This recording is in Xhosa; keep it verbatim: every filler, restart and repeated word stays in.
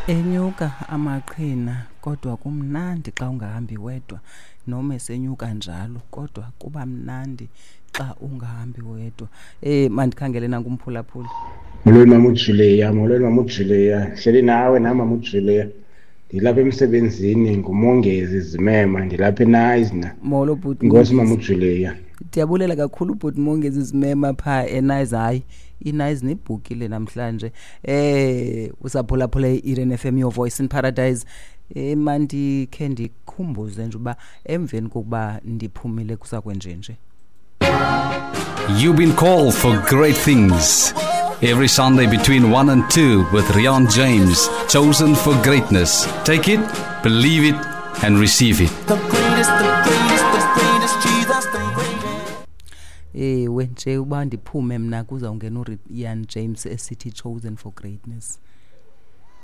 Enyuka amaqhina kodwa kumnandi xa ungahambi wedwa, noma esenyuka njalo kodwa kuba mnandi xa ungahambi wedwa. Eh mandikhangele nanku umphulaphuli. Molweni mama uJulia, molweni mama uJulia. Hleli nawe nam mama uJulia. Ndilapha emsebenzini nguMongezi Zimema, ndilapha eNayizna. Molo bhuti. Inkosi mama uJulia. Ndiyabulela kakhulu bhuti Mongezi Zimema phaa eNayizna. Hayi, iNayizna ibhukile namhlanje. Eh usaphulaphula i-Eden F M, your voice in paradise. Eh mandikhe ndikhumbuze nje uba emveni kokuba ndiphumile kusakwenjenje. You've been called for great things. Every Sunday between one and two with Rian James, chosen for greatness. Take it, believe it, and receive it. The greatest, the greatest, the greatest, Jesus, the greatest. Ewe nje uba ndiphume mna kuzawungena uRian James esithi chosen for greatness.